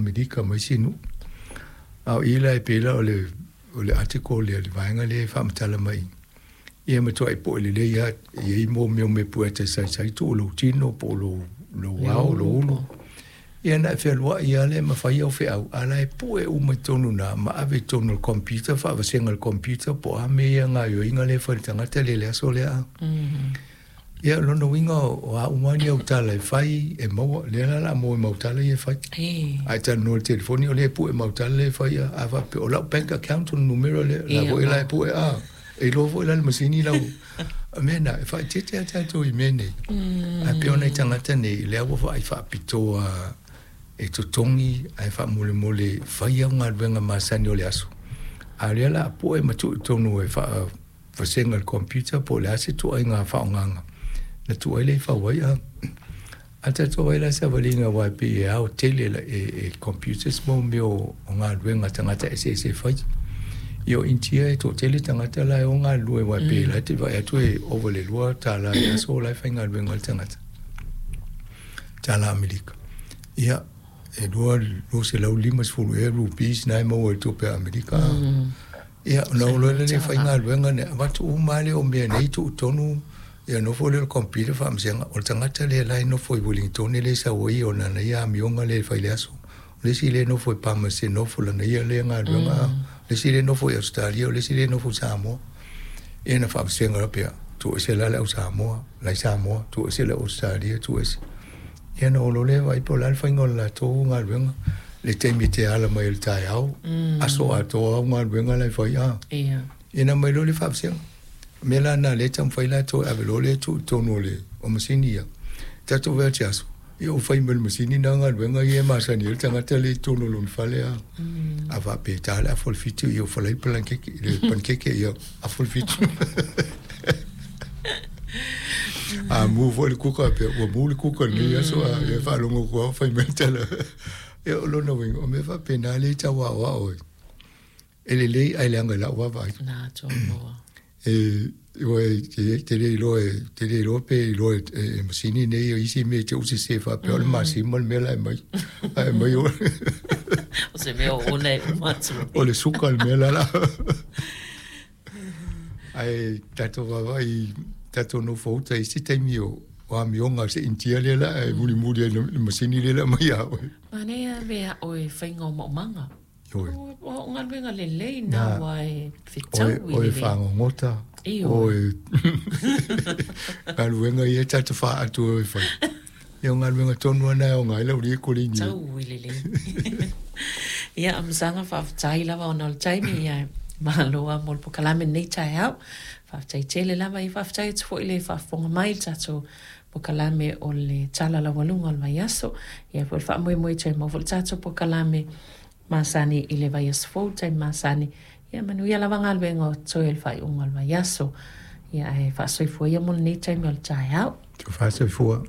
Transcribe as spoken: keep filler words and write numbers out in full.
Amerika ma isi nuu. A o i la e pei la o le o le article lea le vaega lea e faamatala mai ia matuai po'e lelei lava e iai mo mea o mea puetasaisai tuu lou tino po o lou lou ao lou ulu ia na e fealuai lava lea ma fai au feau a la e pue uma i totonu na ma ave i totonu o le computer faavasega e le computer po o a mea ia gaoioiga lea e fai i le tagata lea i le aso lea. Ia o lona uiga o a uma ni au tala e fai e maua lea la o le a maua ai ma au tala ia e fai. A e talanoa i le telefoni o lea e pue ma au tala lea e fai a faapea o lau bank account o le numera lea la foi la e pue a e iloa foi la le masini lau mea na e faaeteete lava tatou i mea nei. Ae pei o nai tagata nei lea ua vaai faapitoa e totogi ae faamolemole fai au galuega masani o le aso a o lea o le a pue ma tuu i totonu e faavasega e le computer po o le a se ituaiga faaaogaga na tuu ai lea i fau ai a. A tatou vaai la i savaliga aua e pei e ao tele e computers mo mea o galuega a tagata eseese e fai. Ia o Initia e toatele tagata la e o galulue aua e pei la e te vaai atu e ova i le lua tala i le aso la e faigaluega ai le tagata tala Amerika. Ia e lua luaselau limasefulu ea rupees na e maua i le tupe a Amerika. Ia ona oo loa lea faigaluega ne avatu uma lava lea o mea nei tuu i totonu ia nofo lea o le computer faamasega o le tagata lea la e nofo i Wellington lea e sau ai ona ana ia amioga lea e fai i le aso. O le isi lea e nofo i Palmerston North o lana ia lea galuega, o le isi lea e nofo i Ausetalia, o le isi lea e nofo i Samoa. Ia na faavasega loa pea, tuu ese la le au Samoa, la i Samoa, tuu ese le au Ausetalia, tuu ese. Ia ona oo loa lea vaai po o le a le faiga o le latou galuega, le taimi e te ala mai ai i le taeao, aso atoa au galuega la e fai a. Ia ona aumai loa lea faavasega. O mea la na o lea e taumafai latou e ave loa lea tuu i totonu o le o masini ia. Tatou vaai atu i aso, ia ua fai mai e le masini na galuega ia e masani ai le tagata lea i totonu o lona fale a. A faapea e ta le afa o le fitu, ia ua falai le palankeke, le panikeke, ia afa le fitu. A mu foi le kuka, pea ua mu le kuka i lenei aso, a ia faalogo atu lava ua fai mai le tala. Ia o lona uiga, o mea faapena lea e tau aoao ai. E lelei ae leaga i lau vaavaai. Na atoa. E ua e te le iloa e te le iloa pe iloa e, e masini nei o isi mea e te usese faapea o le masima le mea la e mai. Ae mai o O se mea o ona e uma atu. O le suka le mea la la. Ae tatou vaavaai tatou nofo uta i isi taimi o o amioga a se Initia lea la e mulimuli ai le masini lea la aumai ia oe. Manaia mea oe faiga o maumaga. Ioe. O galuega lelei na ua e fetau i lelei. Oe fagogota, oe galuega ia tatou faatu e oe fai. Ia o galuega tonu lava na e aoga ai lau alii e koleni ai. Tau i lelei. Ia, Amasaga, faafetai lava ona o le taimi, ia malo lava mo le polokalame lenei taeao. Faafetai tele lava, ia faafetai atu foi i le faafofoga mai i le tatou polokalame o le Tala Laualuga o le Vaiaso. Ia foi le faamoemoe toe maua foi le tatou polokalame masani i le vaiaso fou, taimi masani. Ia manuia lava galuega o totoe o le faaiuga o le vaiaso. Ia ae faasoifua ia mo lenei taimi o le taeao. Faasoifua.